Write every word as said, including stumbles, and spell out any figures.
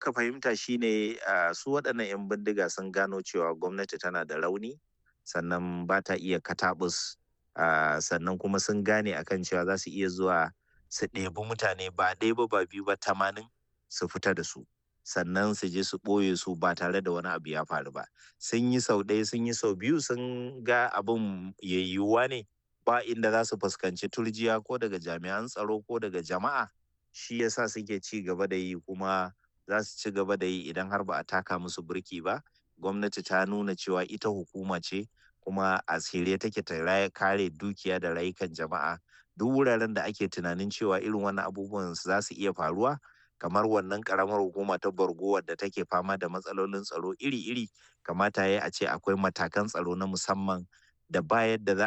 muka fahimta shine uh, su waɗannan 'yan bindiga sun gano cewa gwamnati tana da rauni, sannan ba ta iya katabus, uh, sannan kuma sun gane akan cewa za su iya zuwa su ɗebi mutane ba ɗaya ba, ba biyu ba, tamanin su fita da su, sannan su je su ɓoye su ba tare da wani abu ya faru ba. Sun yi sau ɗaya, sun yi sau biyu, sun ga abin yayyuwa ne ba inda za su fuskanci turjiya ko daga jami'an tsaro ko daga jama'a, shi yasa suke ci gaba da yi, kuma za su ci gaba da yi idan har ba a taka musu birki ba. Gwamnati ta nuna cewa ita hukuma ce, kuma a shirye take ta kare dukiya da rayukan jama'a. Duk wuraren da ake tunanin cewa irin wannan abubuwan za su iya faruwa, kamar wannan karamar hukuma ta Borgo wadda take fama da matsalolin tsaro iri-iri, kamata ya a ce akwai matakan tsaro na musamman da ba yadda za a